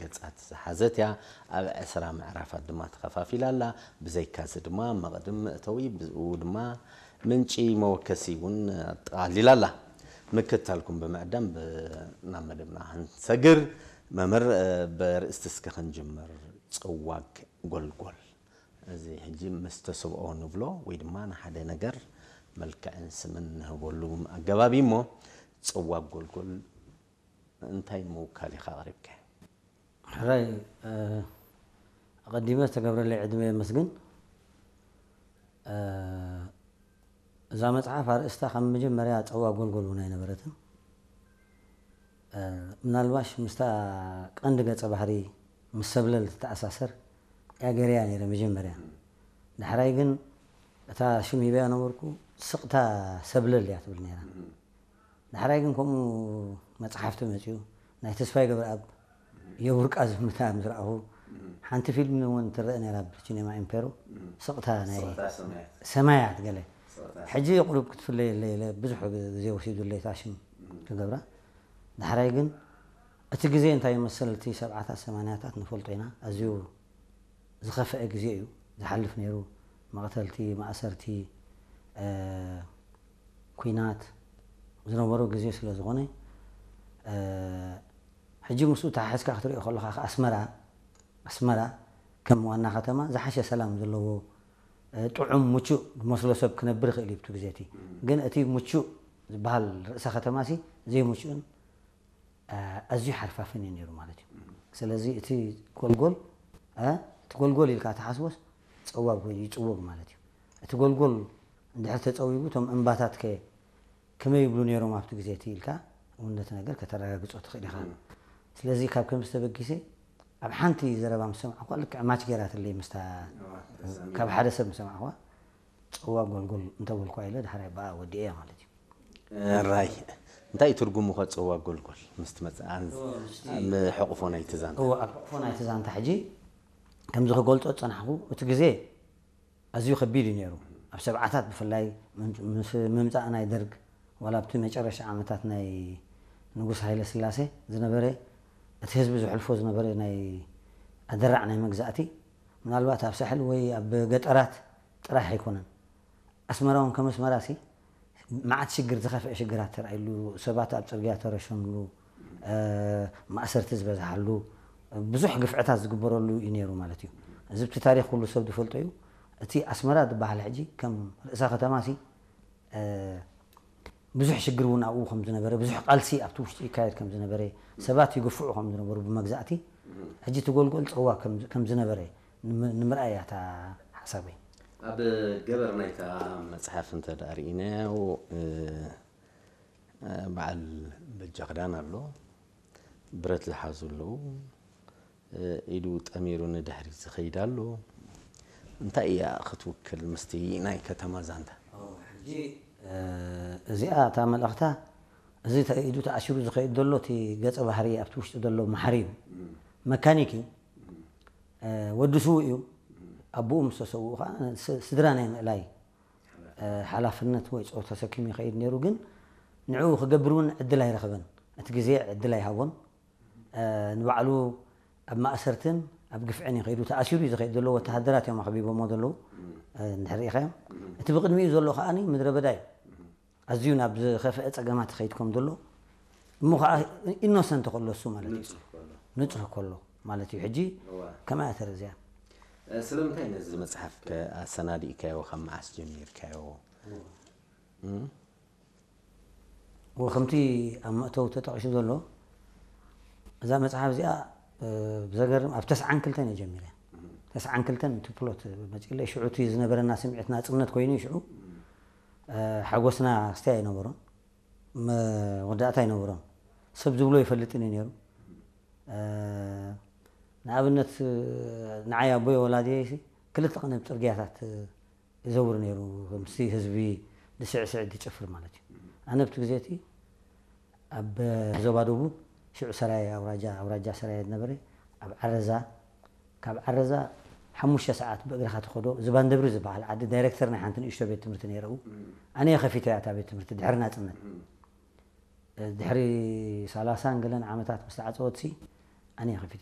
ገጻት ዝሓዘት እያ። ኣብ ዕስራ ምዕራፋት ድማ ተኸፋፊላ ኣላ። ብዘይካዚ ድማ መቕድም መእተዊ፣ ብኡ ድማ ምንጪ መወከሲ እውን ኣጠቓሊላ ኣላ። ምክታልኩም ብምዕዳም ናብ መደብና ክንሰግር፣ መምህር፣ ብርእስቲ እስከ ክንጅምር። ጽዋግ ጎልጎል። እዚ ሕጂ ምስ ተስብኦ ንብሎ ወይ ድማ ንሓደ ነገር መልክዕን ስምን ንህበሉ ኣገባብ እዩ እሞ፣ ጽዋግ ጎልጎል እንታይ ምውካል ኢኻ ኣቕሪብካዮ? ሕራይ፣ ኣቐዲመ ዝተገብረለይ ዕድመ የመስግን። እዛ መጽሓፍ ኣርእስታ ካብ መጀመርያ ጸዋግ ጎልጎል እውን ኣይነበረትን። ምናልባሽ ምስታ ቀንዲ ገጸ ባህሪ ምስ ሰብለል ትተኣሳሰር እያ ገይረያ ነይረ መጀመርያ። ዳሕራይ ግን እታ ሽም ሂበያ ነበርኩ፣ ስቕታ ሰብለል እያ ትብል ነይራ። ዳሕራይ ግን ከምኡ መጽሓፍቲ መጺኡ፣ ናይ ተስፋይ ገብረኣብ የቡርቃ ዝምታ ምስ ረኣኹ፣ ሓንቲ ፊልም እውን ትረአ ነይራ ብሲኔማ ኢምፔሮ፣ ስቕታ ናይ ሰማያት ገለ። ሕጂ ቁሩብ ክትፍለየለይ ኢለ ብዙሕ ግዜ ወሲዱለይ እታ ሽም ክገብራ። ዳሕራይ ግን እቲ ግዜ እንታይ ይመስል፣ እቲ ሰብዓታት ሰማንያታት ንፈልጦ ኢና፣ ኣዝዩ ዝኸፍአ ግዜ እዩ ዝሓልፍ ነይሩ። መቕተልቲ፣ ማእሰርቲ፣ ኩናት ዝነበሮ ግዜ ስለ ዝኾነ፣ ሕጂ ምስኡ ተሓሒዝካ ክትሪኦ ከለኻ ኣስመራ ኣስመራ ከም ዋና ከተማ ዝሓሸ ሰላም ዘለዎ፣ ጥዑም፣ ምቹእ ዝመስሎ ሰብ ክነብር ይኽእል እዩ ብቲ ግዜ እቲ። ግን እቲ ምቹእ ዝበሃል ርእሰ ከተማ ሲ ዘይምቹእን ኣዝዩ ሓርፋፍን እዩ ነይሩ ማለት እዩ። ስለዚ እቲ ጎልጎል፣ እቲ ጎልጎል ኢልካ ትሓስቦስ ጸዋግ ወይ ይጽወግ ማለት እዩ። እቲ ጎልጎል እንድሕር ተጸዊጉ እቶም እምባታት ከ ከመይ ይብሉ ነይሮም ኣብቲ ግዜ እቲ ኢልካ እውን ነቲ ነገር ከተረጋግጾ ትኽእል ኢኻ። ስለዚ ካብ ከምዚ ተበጊሰ ኣብ ሓንቲ ዘረባ ምስ ሰማዕኳ ልክዕ ማች ገይራትለይ ምስታ ካብ ሓደ ሰብ ምስ ሰማዕኳ ጸዋግ ጎልጎል እንተበልኳ ኢለ ድሓር ብኣ ወዲኤያ ማለት እዩ። ራይ እንታይ እዩ ትርጉሙ ከ ጸዋግ ጎልጎል ምስ ትመጽእ ኣብ ሕቑፎ ናይቲ ዛንታ? እወ ኣብ ሕቑፎ ናይቲ ዛንታ ሕጂ ከምዚ ክገልጾ ዝጸናሕኩ እቲ ግዜ ኣዝዩ ከቢድ እዩ ነይሩ። ኣብ ሰብዓታት ብፍላይ ምስ ምምጻእ ናይ ደርግ ዋላ ኣብቲ መጨረሻ ዓመታት ናይ ንጉስ ሃይለ ስላሴ ዝነበረ እቲ ህዝቢ ዘሕልፎ ዝነበረ ናይ ኣደራዕ ናይ መግዛእቲ ምናልባት ኣብ ሳሕል ወይ ኣብ ገጠራት ጥራሕ ኣይኮነን። ኣስመራ እውን ከም ኣስመራ ሲ መዓት ሽግር ዝኸፍአ ሽግራት ተራእይሉ ሰባት ኣብ ጽርግያ ተረሸንሉ ማእሰርቲ ዝበዝሓሉ ብዙሕ ግፍዕታት ዝግበረሉ እዩ ነይሩ ማለት እዩ። እዚ ብቲ ታሪኽ ኩሉ ሰብ ዝፈልጦ እዩ። እቲ ኣስመራ ዝበሃል ሕጂ ከም ርእሰ ከተማ ሲ ብዙሕ ሽግር እውን ኣብኡ ከም ዝነበረ ብዙሕ ቃልሲ ኣብቲ ውሽጢ ይካየድ ከም ዝነበረ ሰባት ይግፍዑ ከም ዝነበሩ ብመግዛእቲ ሕጂ እቲ ጎልጎል ጸዋ ከም ዝነበረ ንምርኣይ እያ እታ ሓሳበይ። ኣብ ገበር ናይታ መጽሓፍ እንተ ደኣ ርኢናዮ በዓል በጃ ክዳን ኣሎ፣ ብረት ዝሓዙ ኣለዉ፣ ኢዱ ጠሚሩ ንድሕሪት ዝኸይድ ኣሎ። እንታይ እያ ክትውክል ምስቲ ናይ ከተማ ዛንታ? ሕጂ እዚኣ እታ መልእኽታ እዚ ኢዱ ተኣሲሩ ዝኸይድ ዘሎ እቲ ገጸ ባህሪ ኣብቲ ውሽጢ ዘሎ መሓሪ እዩ። መካኒክ እዩ። ወዲ ስዉእ እዩ። ኣቦኡ ምስ ተሰውኡ ከዓ ስድራ ናይ ምእላይ ሓላፍነት ወይ ጾር ተሰኪሙ ይኸይድ ነይሩ። ግን ንዕኡ ክገብር እውን ዕድል ኣይረኸበን። እቲ ግዜ ዕድል ኣይሃቦን። ንባዕሉ ኣብ ማእሰርትን ኣብ ግፍዕን እዩ ከይዱ። ተኣሲሩ እዩ ዝኸይድ ዘሎ። ወተሃደራት እዮም ኣኽቢቦሞ ዘለዉ እንድሕር ርኢኻዮም። እቲ ብቕድሚኡ ዘሎ ከዓኒ ምድረ በዳ እዩ። ኣዝዩ ናብ ዝኸፍአ ጸገማት ይኸይድ ከም ዘሎ እሞ ከዓ ኢኖሰንት ከሎ እሱ ማለት እዩ። ንጹህ ከሎ ማለት እዩ። ሕጂ ከመይ እያ ተረዚያ? ስለምንታይ ነዚ መጽሓፍ ከ ኣሰናዲእካዮ? ካብ መዓስ ጀሚርካዮ? ወ ከምቲ ኣብ መእተው ተጠቒሱ ዘሎ እዛ መጽሓፍ እዚኣ ብዘገርም ኣብ ተስዓን ክልተን እየ ጀሚረ። ተስዓን ክልተን እቲ ፕሎት መጺለይ ሽዑ እቲ ዝነበረና ስምዒት ናጽነት ኮይኑ እዩ። ሽዑ ሓጎስና ክስታይ ኣይነበሮን፣ መወዳእታ ኣይነበሮን። ሰብ ዝብሎ ይፈልጥን እዩ ነይሩ። ንኣብነት ንዓይ ኣቦይ ወላዲየይ ክልተ ቀን ኣብ ጽርግያታት ይዘውር ነይሩ፣ ምስቲ ህዝቢ ዝስዕስዕ ዝጭፍር ማለት እዩ። ኣነ ኣብቲ ግዜ እቲ ኣብ ዞባ ደቡብ ሽዑ ሰራየ ኣውራጃ ኣውራጃ ሰራየ ዝነበረ ኣብ ዓረዛ ካብ ዓረዛ ሓሙሽተ ሰዓት ብእግርኻ ትኸዶ ዝባን ደብሪ ዝበሃል ዓዲ ዳይሬክተር ናይ ሓንቲ ንእሽቶ ቤት ትምህርቲ ነይረኡ። ኣነ እየ ከፊተያ እታ ቤት ትምህርቲ ድሕሪ ናፅነት። ድሕሪ ሰላሳን ገለን ዓመታት ምስ ተዓፀወትሲ ኣነ እየ ከፊተያ።